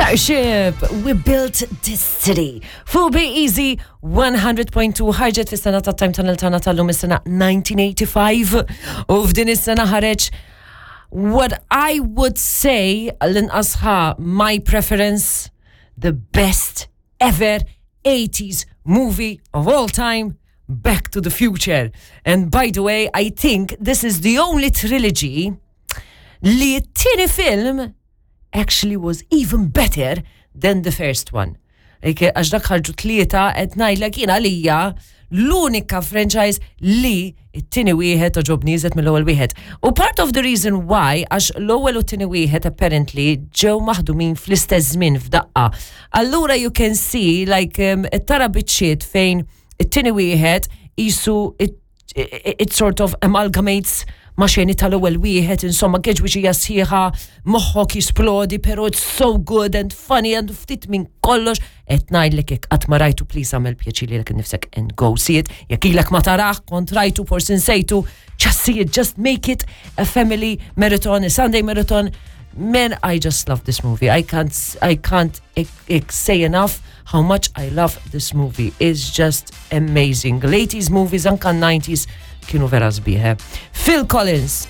Starship, we built this city. Fuq Be Easy 100.2 ħarġet fis-sena ta' Time Tunnel tagħna tal-lum is-sena 1985 u f'din is-sena ħareġ what I would say l-inqas ħa my preference the best ever 80s movie of all time Back to the Future. And by the way, I think this is the only trilogy li t-tieni film actually was even better than the first one. Għax dak ħarġu tlieta qed ngħidlek jien għalija l-unika franchise li it-tieni wieħed oġobni iżet mill-ewwel wieħed. U part of the reason why għax l-ewwel u t-tieni wieħed apparently ġew maħdumin fl-istess żmien f'daqqa. Allura you can see like um, tara biċċiet fejn it-tieni wieħed isu it, it sort of amalgamates ma xeni tal-ewwel wieħed, insomma geġwiġija sħiħa, moħħok jisplodi, pero it's so good and funny and ftit minn kollox. Qed ngħidlek jekk qatt ma rajtu please għamel pjaċir lilek innifsek and go see it. Jekk ilek ma tarah, kont rajtu forsi nsejtu, just see it, just make it a family marathon, a Sunday marathon. Man, I just love this movie. I can't, I can't say enough how much I love this movie. It's just amazing. L-80s movies, anka 90s, kienu vera sbieħ. Eh? Phil Collins.